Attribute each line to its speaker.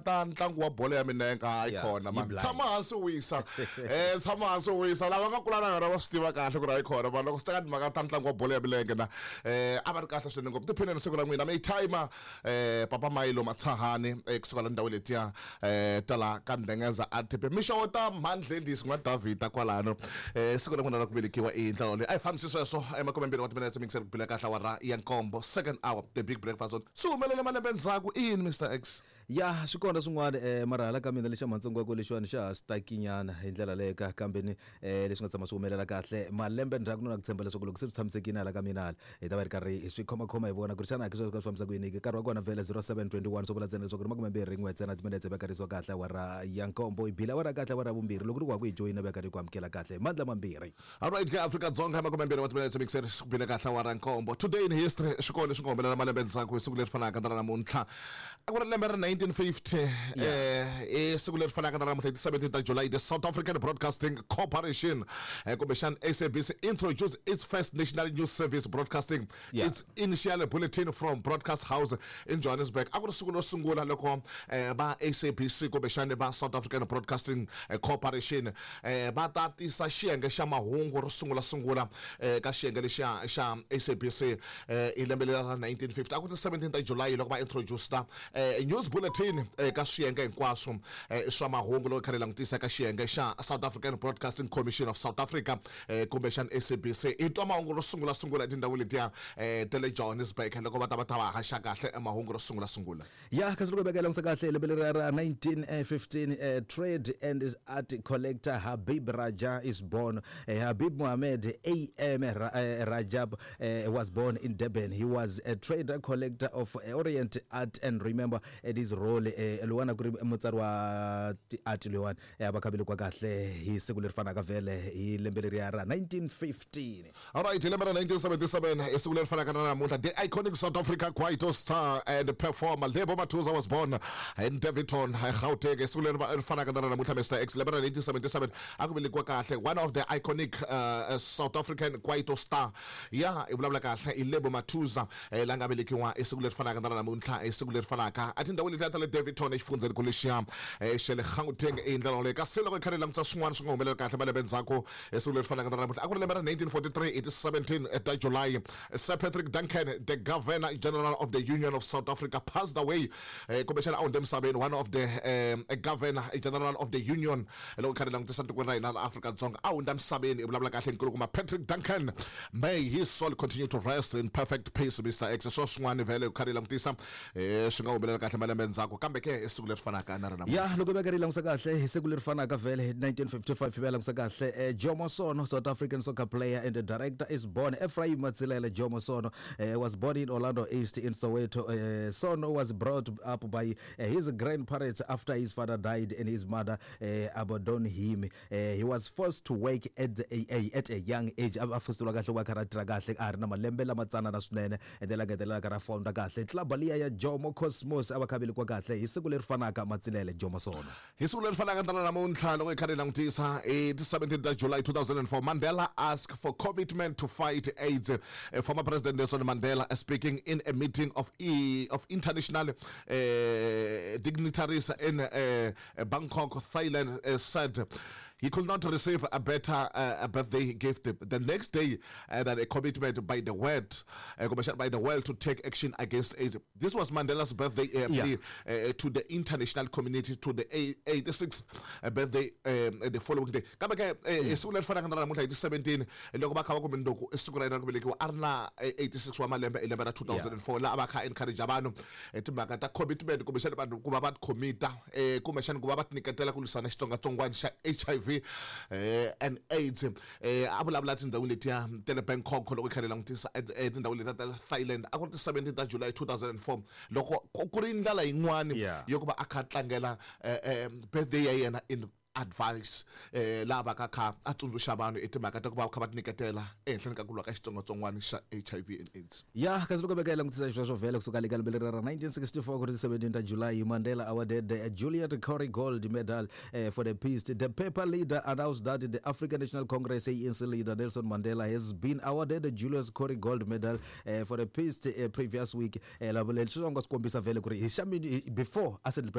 Speaker 1: Ta ntlangu wa bolo ya minenge hayi
Speaker 2: Yeah,
Speaker 1: khona
Speaker 2: yi
Speaker 1: man
Speaker 2: blind.
Speaker 1: Tshama hansi u wisa, tshama hansi u wisa. Lava nga kula na yona va swi tiva kahle ku ri hayi khona man. Loko swi teka timhaka ta ntlangu wa bolo ya milenge na a va ri kahle swinene ngopfu. Tiphineni siku ra n'wina mi timer papa Mayilo Matshahani kusuka la ndhawu letiya ta la ka Ndengeza RTP mixo ta Mhandlendisi n'wa Davhida kwalano. Siku ra n'wina ra ku velekiwa i ndlela leyi a hi fambisi sweswo 20 wa timinetse mingiseri ku bila kahle awara ya nkombo, second hour, The Big Breakfast On. Swi humelele malembe ndzhaku i yini, Mr X?
Speaker 2: Ya, swi kona swin'wana mara hala ka mina lexa matsongo wa lexiwani xa ha stakinyana hi ndlela leyo ka kambeni leswi nga tshama swi humelela kahle malembe ndzhaku no na ku tshemba leswaku loko se swi tshamisekile hala ka mina hala hi ta va hi ri karhi hi swi khomakhoma hi vona ku ri xana ke sweswo ka swi fambisa ku yini ke. Nkarhi wa kona vhele 07:21 swo vula ntsena leswaku ri 21 ntsena timinetse va karhisiwa kahle awara ya nkombo hi bila awara kahle awara ya vumbirhi loko ri ku wa ku hi joyina va karhi ku amukela kahle hi mandla mambirhi.
Speaker 1: Alright ke, Afrika-Dzonga, 20 wa timinetse mixer ku bile kahle awara nkombo. Today in history, swi kona leswi nga humelela malembe ndzhaku hi siku leri fanaka na ra namuntlha. A ku ri lembe ra 1950 i siku leri fanaka na ra namuntlha hi ti 17 ta July, the South African Broadcasting Corporation kumbexana SABC introduced its first national news service, broadcasting its initial bulletin from Broadcast House in Johannesburg. A ku ri siku ro sungula loko va SABC kumbexana va South African Broadcasting Corporation va ta tisa xiyenge xa mahungu ro sungula sungula ka xiyenge lexiya xa SABC hi lembe lera ra 1950. A ku ti 17 ta July loko va introduce news bulletin ka swiyenge hinkwaswo swa mahungu loko kha langutisa ka xiyenge xa South African Broadcasting Commission of South Africa kumbexana SABC. Hi twa mahungu ro sungula sungula etindhawini letiya ta le Johannesburg loko va ta va haxa kahle mahungu ro sungula sungula.
Speaker 2: Ya, kasi loko hi veka langutisa kahle lembe leri ra 1915, trade and art collector Habib Raja is born. Habib Mohamed AM Rajab was born in Durban. He was a trader, collector of Orient art and remember at his role lowana ku ri mutsari wa ti-art loyiwani va kha velekiwa kahle hi siku leri fanaka vhele hi lembe leriya ra 1915.
Speaker 1: Alright, hi lembe ra 1977 hi siku leri fanaka na namuntlha, the iconic South Africa kwaito star and performer Lebo Mathuza was born in Daveyton, Gauteng. Hi siku leri ri fanaka na namuntlha, Mr X, lembe ra 1977 a ku velekiwa kahle one of the iconic South African kwaito star. Ya, i vulavula kahle i Lebo Mathuza la nga velekiwa hi siku leri fanaka na namuntlha, hi siku leri fanaka a tindhawini letiya ta le Daveyton exifundzeni ku lexiya xa le Gauteng hi ndlela yoleyo. Kasi loko hi kha hi langutisa swin'wana swi nga humelela kahle malembe ndzhaku hi siku leri fanaka na namuntlha, a ku ri lembe ra 1943 hi ti 17 ta July, Sir Patrick Duncan, the Governor General of the Union of South Africa, passed away. Kumbexana a hundze emisaveni one of the Governor General of the Union loko kha ri langutisa tikweni ra hina ra Afrika-Dzonga a hundza emisaveni. I vulavula kahle nkulukumba Patrick Duncan. May his soul continue to rest in perfect peace. Mr X, swo swin'wana vhele kha ri langutisa swi nga humelela kahle malembe ndzhaku kambe ke i siku leri fanaka na ra namuntlha.
Speaker 2: Ya, loko veka ri langutisa kahle hi siku leri fanaka vhele hi 1955 hi va langutisa kahle Jomo Sono, South African soccer player and director, is born. Ephraim Matsilele Jomo Sono was born in Orlando East in Soweto. Sono was brought up by his grandparents after his father died and his mother abandoned him. He was forced to work at a young age. A fosteriwa kahle ku va kha ra tirha kahle a ha ri na malembe lama tsanana swinene and then a ngetelela ka ra founder kahle club liya ya Jomo Cosmos. A va kha velekiwa kahle hi siku leri fanaka Matsilele Jomo Sono.
Speaker 1: Hi siku leri fanaka na namuntlha loko hi kha hi langutisa hi ti 17 ta July 2004, Mandela asked for commitment to fight AIDS. Former President Nelson Mandela, speaking in a meeting of international dignitaries in Bangkok, Thailand, said he could not receive a better birthday gift the next day than a commitment by the world to take action against AIDS. This was Mandela's birthday plea to the international community, to the 86th birthday the following day. Kambe ke hi siku leri fanaka na namuntlha hi ti 17 loko va kha va kumbe ndoko i siku ra yena ra ku velekiwa a ri na 86 wa malembe hi lembe ra 2004 laha a va kha encourage vanhu hi timhaka ta commitment kumbexana vanhu ku va va commita kumbexana ku va va tinyiketela ku lwisana xitsongwatsongwana xa HIV and AIDS. A vulavula tindhawini letiya ta le Bangkok loko hi kha hi langutisa etindhawini letiya ta le Thailand. A ku ri ti 17 ta July 2004 loko ku ri ndlela yin'wani yo ku va a kha a tlangela birthday ya yena in advice laha va ka kha a tsundzuxa vanhu i timhaka ta ku va kha va tinyiketela ehenhleni ka ku lwa ka xitsongwatsongwana xa HIV and AIDS.
Speaker 2: Ya, kasi loko veka hi langutisa xisweswo vhele kusuka le ka lembe leri ra 1964 ku ri 17 ta July, Mandela awarded Juliet Corrie Gold Medal for the peace. The paper leader announced that the African National Congress, ANC, leader Nelson Mandela has been awarded the Julius Corrie Gold Medal for the peace previous week. Lavo leswi nga swi kombisa vhele ku ri hi xa before a settle.